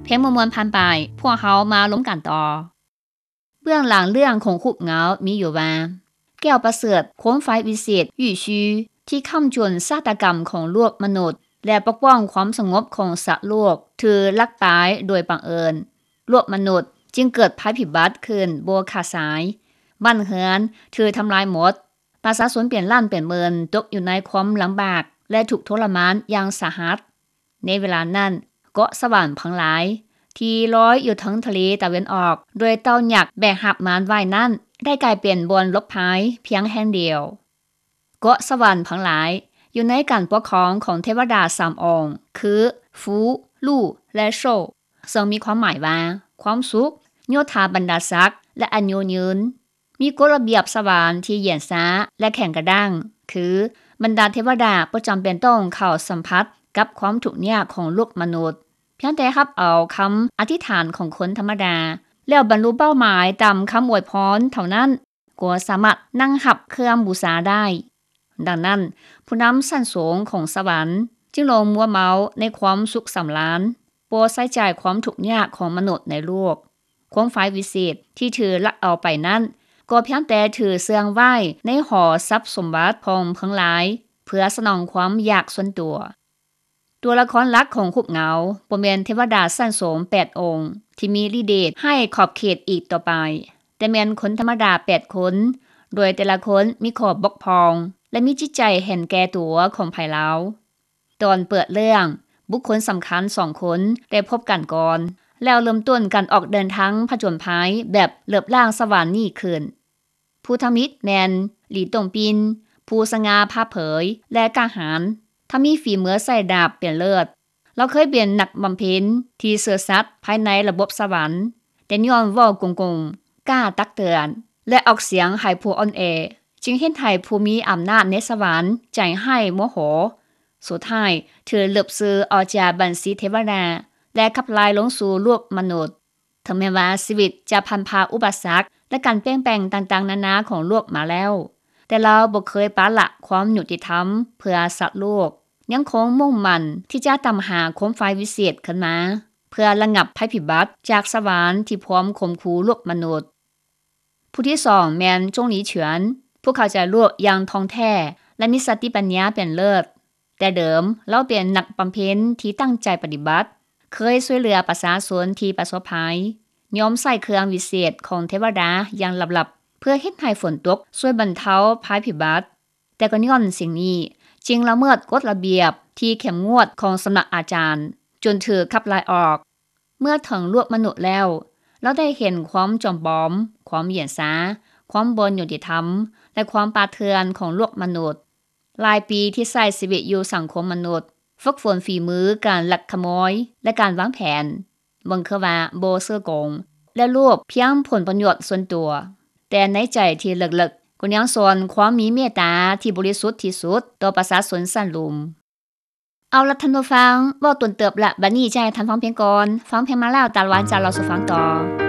ເພງມ່ວນໆຜ່ານໄປ, ພວກເຮົາມາລົມກັນຕໍ່. ເບື້ອງຫຼັງເລື່ອງຂົງຫຸບເຫງົາມີຢູ່ວ່າ ແກ້ວປະເສີດ ໂຄມໄຟວິເສດ ຫວີຊີ ທີ່ຄ້ຳຈຸນຊາຕາກຳຂອງໂລກມະນຸດ ແລະ ປົກປ້ອງຄວາມສະຫງົບຂອງສັດໂລກ ຖືກລັກໄປໂດຍບັງເອີນ. ໂລກມະນຸດຈຶ່ງເກີດໄພພິບັດຂຶ້ນບໍ່ຂາດສາຍ. ບ້ານເຮືອນຖືກທຳລາຍໝົດ. ປະຊາຊົນເປັນລ້ານເປັນໝື່ນຕົກຢູ່ໃນຄວາມລຳບາກ ແລະ ທຸກທໍລະມານຢ່າງສາຫັດ. ໃນເວລານັ້ນ, ເກາະສະຫວັນເພິງຫຼາຍ ທີ່ລອຍຢູ່ເທິງທະເລຕາເວັນອອກ ໂດຍເຕົ່າຍັກແບກຮັບມານໄວ້ນັ້ນ ໄດ້ກາຍເປັນບ່ອນຫຼົບໄພພຽງແຫ່ງດຽວ. ເກາະສະຫວັນເພິງຫຼາຍ ຢູ່ໃນການປົກຄອງຂອງເທວະດາສາມອົງ ຄື ຟູ, ຫຼູ່ ແລະ ໂຊ, ເຊິ່ງມີຄວາມໝາຍວ່າ ຄວາມສຸກ, ໂຍທາບັນດາສັກ ແລະ ອາຍຸຍືນ. ມີກົດລະບຽບສະຫວັນທີ່ຫຍຽນຊ້າ ແລະ ແຂງກະດ້າງ, ຄື ບັນດາເທວະດາບໍ່ຈຳເປັນຕ້ອງເຂົ້າສຳຜັດກັບຄວາມທຸກຍາກຂອງໂລກມະນຸດ, ພຽງແຕ່ຮັບເອົາຄຳອະທິຖານຂອງຄົນທຳມະດາ ແລ້ວບັນລຸເປົ້າໝາຍຕາມຄຳອວຍພອນເທົ່ານັ້ນ ກໍສາມາດນັ່ງຮັບເຄື່ອງບູຊາໄດ້. ດັ່ງນັ້ນ, ຜູ້ນຳຊັ້ນສູງຂອງສະຫວັນຈຶ່ງຫຼົງມົວເມົາໃນຄວາມສຸກສຳລານ, ບໍ່ໃສ່ໃຈຄວາມທຸກຍາກຂອງມະນຸດໃນໂລກ. ໂຄມໄຟວິເສດທີ່ຖືກລັກເອົາໄປນັ້ນ ກໍພຽງແຕ່ຖືເຊື່ອງໄວ້ໃນຫໍຊັບສົມບັດຂອງເພິງຫຼາຍ ເພື່ອສະໜອງຄວາມຢາກສ່ວນຕົວ. ຕົວລະຄອນຫຼັກຂອງຫຸບເຫງົາ ບໍ່ແມ່ນເທວະດາຊັ້ນສູງແປດອົງ ທີ່ມີລິເດດໃຫ້ຂອບເຂດອີກຕໍ່ໄປ, ແຕ່ແມ່ນຄົນທຳມະດາແປດຄົນ, ໂດຍແຕ່ລະຄົນມີຂໍ້ບົກຜ່ອງ ແລະ ມີຈິດໃຈເຫັນແກ່ຕົວຂອງໃຜລາວ. ຕອນເປີດເລື່ອງ, ບຸກຄົນສຳຄັນສອງຄົນໄດ້ພົບກັນກ່ອນ ແລ້ວເລີ່ມຕົ້ນການອອກເດີນທາງຜະຈົນໄພແບບເລິບລ້າງສະຫວັນນີ້ຂຶ້ນ. ຜູ້ທຳອິດແມ່ນ ຫຼີຕົງປິນ, ຜູ້ສະຫງ່າຜ່າເຜີຍ ແລະ ກ້າຫານ, ທັງມີຝີມືໃຊ້ດາບເປັນເລີດ. ລາວເຄີຍເປັນນັກບຳເພັນທີ່ຊື່ສັດພາຍໃນລະບົບສະຫວັນ, ແຕ່ຍ້ອນເວົ້າກົງໆ, ກ້າຕັກເຕືອນ ແລະ ອອກສຽງໃຫ້ຜູ້ອ່ອນແອ, ຈຶ່ງເຮັດໃຫ້ຜູ້ມີອຳນາດໃນສະຫວັນໃຈຮ້າຍໂມໂຫ. ສຸດທ້າຍຖືກລຶບຊື່ອອກຈາກບັນຊີເທວະດາ ແລະ ຂັບໄລ່ລົງສູ່ໂລກມະນຸດ. ເຖິງແມ່ນວ່າຊີວິດຈະຜ່ານຜ່າອຸປະສັກ ແລະ ການປ່ຽນແປງຕ່າງໆນານາຂອງໂລກມາແລ້ວ, ແຕ່ລາວບໍ່ເຄີຍປະລະຄວາມຍຸຕິທຳເພື່ອສັດໂລກ, ຍັງຄົງມຸ່ງໝັ້ນທີ່ຈະຕາມຫາໂຄມໄຟວິເສດຂຶ້ນມາ ເພື່ອລະງັບໄພພິບັດຈາກສະຫວັນທີ່ພວມຂົ່ມຂູ່ໂລກມະນຸດ. ຜູ້ທີສອງແມ່ນ ຈົງຫຼີເຂືອນ, ຜູ້ເຂົ້າໃຈໂລກຢ່າງທ່ອງແທ້ ແລະ ມີສະຕິປັນຍາເປັນເລີດ. ແຕ່ເດີມລາວເປັນນັກບຳເພັນທີ່ຕັ້ງໃຈປະຕິບັດ, ເຄີຍຊ່ວຍເຫຼືອປະຊາຊົນທີ່ປະສົບໄພ, ຍອມໃຊ້ເຄື່ອງວິເສດຂອງເທວະດາຢ່າງລັບໆ ເພື່ອເຮັດໃຫ້ຝົນຕົກ ຊ່ວຍບັນເທົາໄພພິບັດ. ແຕ່ກໍຍ້ອນສິ່ງນີ້ ຈຶ່ງລະເມີດກົດລະບຽບທີ່ເຂັ້ມງວດຂອງສຳນັກອາຈານ ຈົນຖືກຂັບໄລ່ອອກ. ເມື່ອເຖິງໂລກມະນຸດແລ້ວ, ລາວໄດ້ເຫັນຄວາມຈອມປອມ, ຄວາມຫຍຽນຊາ, ຄວາມບໍ່ຍຸຕິທຳ ແລະ ຄວາມປ່າເຖື່ອນຂອງໂລກມະນຸດ. ຫຼາຍປີທີ່ໃຊ້ຊີວິດຢູ່ສັງຄົມມະນຸດ, ຝຶກຝົນຝີມືການລັກຂະໂມຍ ແລະ ການວາງແຜນ, ເບິ່ງຄືວ່າບໍ່ຊື່ກົງ ແລະ ໂລບພຽງຜົນປະໂຫຍດສ່ວນຕົວ, ແຕ່ໃນໃຈທີ່ເລິກໆ ກໍຍັງຊ່ອນຄວາມມີເມດຕາທີ່ບໍລິສຸດທີ່ສຸດຕໍ່ປະຊາຊົນຊັ້ນລຸ່ມ. ເອົາລະທ່ານຜູ້ຟັງ, ເວົ້າດົນເຕີບລະ, ບັດນີ້ຈະໃຫ້ທ່ານຟັງເພງກ່ອນ. ຟັງເພງມາແລ້ວ, ຕາລະວັນຈະເລົ່າສູ່ຟັງຕໍ່.